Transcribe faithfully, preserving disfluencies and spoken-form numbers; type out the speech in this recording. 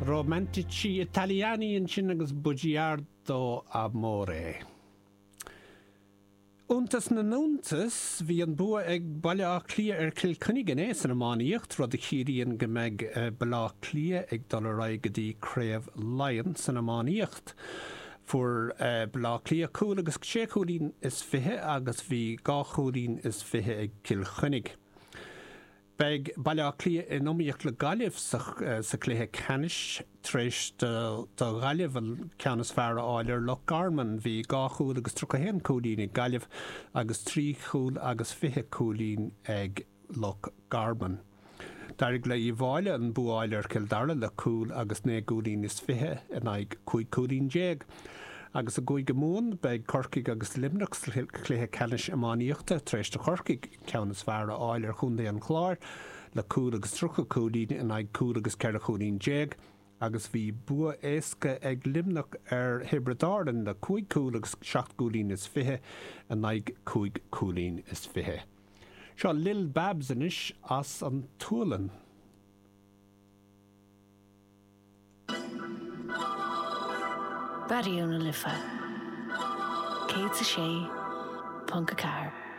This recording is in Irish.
Romantici Italiani ansin agus Bugiardo Amore. Iontas na n-iontas, bhí an bua ag Baile Átha Cliath ar Chill Chainnigh inné san iománaíocht, rud a chiallaíonn go mbeidh Baile Átha Cliath ag dul ar aghaidh go dtí Craobh Laighean san iománaíocht. Fuair Baile Átha Cliath cúl agus sé chúilín is fiche agus bhí dhá chúilín is fiche ag Cill Chainnigh. Beidh Baile Átha Cliath in iomaíocht le Gaillimh sa chluiche ceannais tar éis do Ghaillimh an ceann is fearr a fháil ar Loch Garman. Bhí dhá chúl agus tríocha a haon cúilín ag Gaillimh agus trí chúl agus fiche cúilín ag Loch Garman. D'éirigh le Uíbh Fhailí an bua a fháil ar Chill Dara le cúl agus naoi gcúilín is fiche in aghaidh cúig chúilín déag. Agus i gCúige Mumhan, beidh Corcaigh agus Luimneach sa chluiche ceannais iománaíochta tar éis do Chorcaigh an ceann is fearr a fháil ar Chontae an Chláir le cúl agus tríocha cúilín in aghaidh cúl agus ceithre chúilín déag agus bhí bua éasca ag Luimneach ar Thiobraid Árann le cúig chúl agus seacht gcúilín is fiche in aghaidh cúig chúilín is fiche. Seo Lill Babs anois as an tSualainn. Raidió na Life céad a sé ponc a ceathair.